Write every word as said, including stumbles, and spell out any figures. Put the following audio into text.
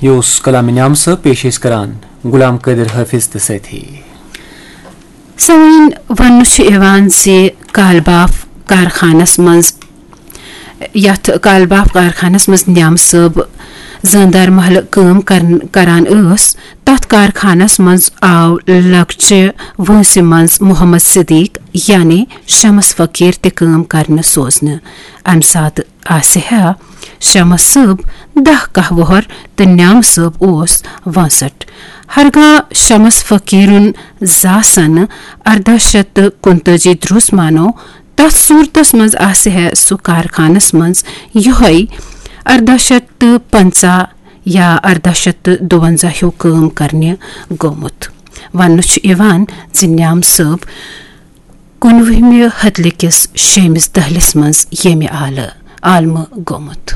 یہِ اوس کلام نیام صٲب، پیش ٲسۍ کران غلام قٲدر حٲفظ تہٕ سٲتھی۔ سامعیٖن، وننہٕ چھُ یِوان زِ کالباف کارخانس منٛز، یتھ کالباف کارخانس منٛز نیام صٲب زٲندار محلہٕ کٲم کرن-، کران ٲس، تتھ کارخانس منٛز آو لۄکچہِ وٲنٛسہِ منٛز محمد صدیق یعنی شمس فقیٖر تہِ کٲم کرنہٕ سوزنہٕ۔ امہِ ساتہٕ آسہِ ہا شمس صٲب دَہ کاہ وُہر تہٕ نیام صٲب اوس وٲنٛسٹھ۔ ہرگاہ شمس فقیٖرُن زاسن ارداہ شیٚتھ تہٕ کُنتٲجی درُس مانو، تتھ صورتس منٛز آسہِ ہے سُہ کارخانس منٛز یِہوٚے ارداہ شیٚتھ تہٕ پنٛژاہ یا ارداہ شیٚتھ تہٕ دُوَنزاہ ہیوٗ کٲم کرنہِ گوٚمُت۔ وننہٕ چھُ یِوان زِ نیام صٲب کُنوُہمہِ ہتلہِ کِس شیٚیمِس دٔہلِس منٛز ییٚمہِ عالہٕ عالمہٕ گوٚمُت۔